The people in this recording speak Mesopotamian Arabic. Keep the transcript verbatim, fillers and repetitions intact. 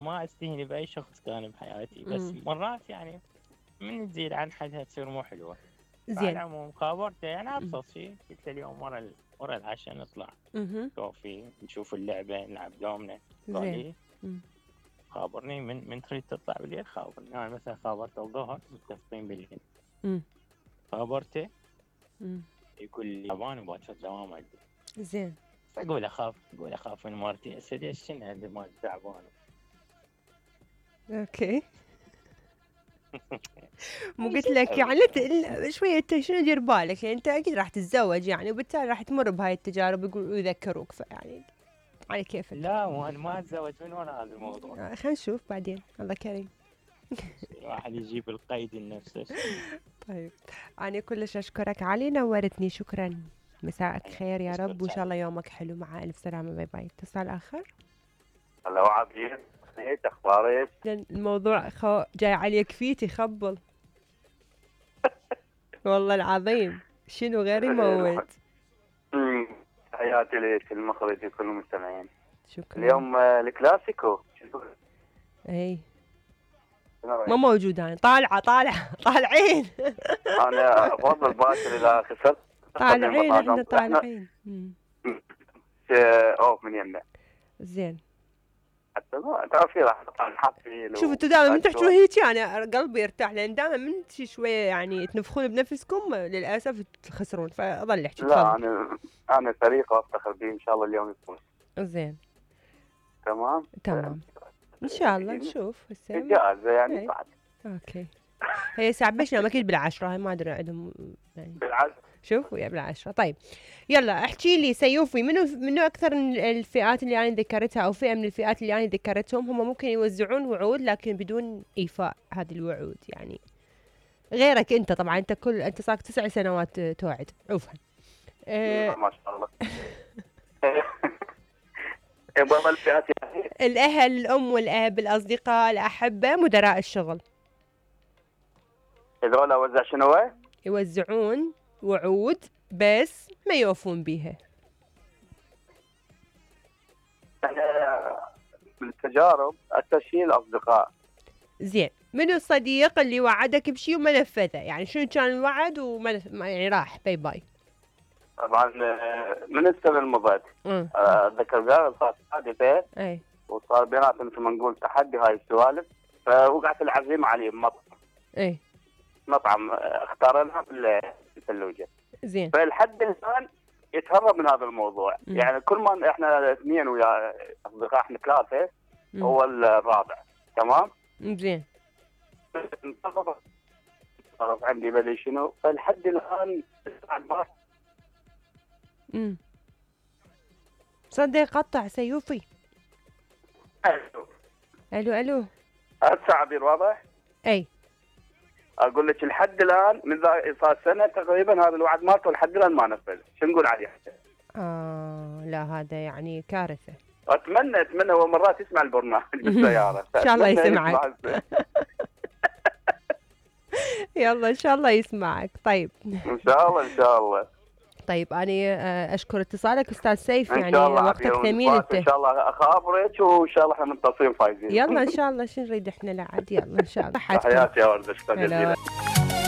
ما استهني باي شخص كان بحياتي، بس مم. مرات يعني من تزيد عن حدها تصير مو حلوه. على زين. العموم خابرته يعني مم. ابسط شيء، قلت له اليوم ورا ال- ورا العشاء نطلع مهم. كوفي نشوف اللعبه نلعب دومنا. قال زين. لي مم. خابرني من من تريد تطلع بالليل خابرني. انا يعني مثلا خابرته الظهر متفقين بالليل، مم. خابرته مم. يقول لي تعبان وباكر دوام عندي. زين. اقول اخاف اقول اخاف من مرتي اسد شنو عندي ما تعبان. اوكي. مو قلت لك يعني لا ت- شوية انت شنو دير بالك، يعني انت اكيد راح تتزوج يعني، وبالتالي راح تمر بهاي التجارب يقول ويذكروك، فيعني على كيفك. لا مو انا ما اتزوج من ورا هذا الموضوع. آه، خلينا نشوف بعدين، الله كريم. الواحد يجيب القيد لنفسه. طيب انا كلش اشكرك علي، نورتني، شكرا. مساءك خير يا رب، وان شاء الله يومك حلو، مع الف سلامة، باي باي. اتصال اخر. هلا وعبير، ايش اخبارك؟ الموضوع خو... جاي عليك فيتي خبل. والله العظيم شنو غير يموت. أمم، تحياتي لك المخرج وكل المستمعين. شكرا. اليوم آه، الكلاسيكو شنو؟ اي شنو رأيك؟ ما موجود انا، طالعه طالعه طالعين. انا افضل باكر اذا خسرت. طالعين احنا طالعين. مم. آه، اوف من يمنا. زين. حتى ما تعرفي راح نحط فيه. شوف انتوا دائما من تحكوا هيك انا قلبي يرتاح، لان دائما من شي شويه يعني تنفخون بنفسكم للاسف تخسرون، فاظل احكي. لا انا انا فريق افتخر به، ان شاء الله اليوم يفوز. زين. تمام تمام ان شاء الله نشوف هسه. جائزه يعني بعد. اوكي. هي ساعة بيش نام اكيد بالعشرة، هاي ما ادري عندهم يعني. بالعكس. شوف ويا بالعشرة. طيب يلا احكي لي سيوفي، منو منو اكثر الفئات اللي انا ذكرتها، او فئة من الفئات اللي انا ذكرتهم هم ممكن يوزعون وعود لكن بدون ايفاء هذه الوعود يعني، غيرك انت طبعا، انت كل انت صار تسع سنوات توعد عوفا. أه ما شاء الله. بعض الفئات يعني الاهل، الام والاب، الاصدقاء، الاحبه، مدراء الشغل. هذول اوزع شنو؟ يوزعون وعود بس ما يوفون بيها. بالتجارب التشكيل الاصدقاء. زين. منو الصديق اللي وعدك بشيء وما نفذه؟ يعني شنو كان الوعد وما نف... يعني راح باي باي. طبعا من السنه المضت اتذكر قال صار حادثه، اي وصار بيناتنا مثل ما نقول تحدي هاي السوالف، فوقعت العزيمه عليه بمطعم. اي مطعم اختارناه بالفلوجه. زين. فالحد الان يتهرب من هذا الموضوع. مم. يعني كل ما احنا اثنين ويا اصدقاء احنا ثلاثه، مم. هو الرابع. تمام؟ زين. صرف عندي بدي شنو، فالحد الان بعد ما امم صدق قطع سيوفي. الو الو الو. هسه عبير واضح؟ اي اقول لك الحد الان من ذا صار سنه تقريبا هذا الوعد مالته لحد الان ما نفذ، شو نقول عليه؟ اه لا هذا يعني كارثه. اتمنى اتمنى هو مرات يسمع البرنامج بالسياره. ان شاء الله يسمعك. يلا ان شاء الله يسمعك. طيب ان شاء الله ان شاء الله. طيب انا اشكر اتصالك استاذ سيف، إن يعني شاء الله وقتك عبير، ثمين انت. ان شاء الله اخابرك وان شاء الله احنا منتصرين فايزين. يلا ان شاء الله، شو نريد احنا لا عاد، يلا ان شاء الله. تحياتي يا ورده، شكرا هلا. جزيلا.